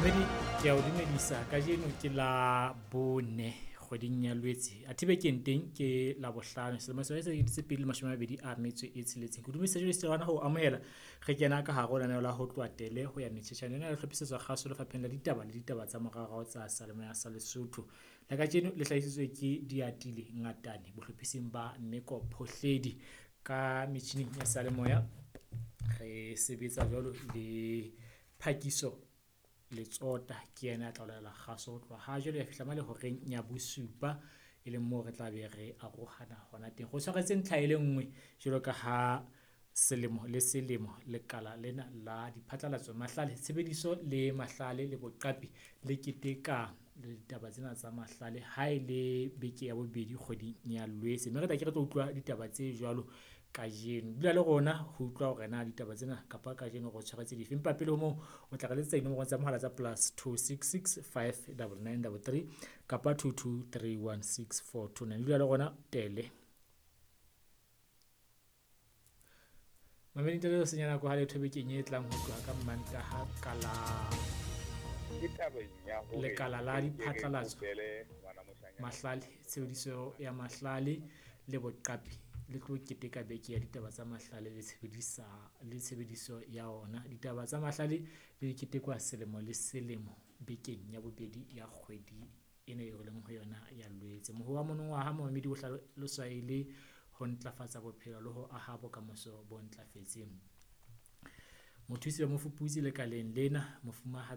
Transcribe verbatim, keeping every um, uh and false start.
Momamedi, ke a o dumedisa kajeno ke la bone kgweding ya Lwetse. Athe bekeng teng ke Labohlano selemo sa sekete tse pedi le mashome a mabedi a metso e tsheletseng. Ke dumedisa jwale hona ho amohela re kena ka hare ho lenaneo la ho tloha tele ho ya metjhetjhane. Lena le hlophisetswa kgaso lefapheng la ditaba le ditaba tsa moraorao tsa seyalemoya sa Lesotho. La kajeno le hlahisitswe ke Diatile Ngatane bohlophising ba Mmeko Phohledi. Ka metjhining ya seyalemoya re sebetsa jwalo le Phakiso Letsota, ke yena ya tla o laela kgaso ho tloha ha jwale ya fihla mane horeng ya bosupa, e leng moo re tla be re arohana hona teng. Re tshwaretse ntlha e le nngwe jwalo ka ha selemo le selemo lekala lena la diphatlalatso, mahlale, tshebediso le mahlale le boqapi le keteka ditaba tsena tsa mahlale ha e le beke ya bobedi kgweding ya Lwetse. Mme re tla ke re tlo utlwa ditaba tse jwalo kajeno. Dula le rona ho utlwa hore na ditaba tsena kapa kajeno re o tshwaretse dife. Empa pele ho moo o tla re letsetsa dinomoro tsa mohala tsa plus two six six five double nine double three kapa two two three one six four two nine. Dula le rona tele. Mamedi ntle le senya nako ha letho bekeng e tlang ho tloha ka Mantaha ka la lekala la diphatlalatso, mahlale, tshebediso ya mahlale le boqapi le tlo keteka beke ya ditaba tsa mahlale le tshebedisa le tshebediso ya ona. Ditaba tsa mahlale di ketekwa selemo le selemo bekeng ya bobedi ya kgwedi ena eo re leng ho yona ya Lwetse. Moho wa monongwaha momamedi o hlaloswa e le ho ntlafatsa bophelo le ho aha bokamoso bo ntlafetseng. Mothusi wa mofuputsi lekaleng lena, Mofumahadi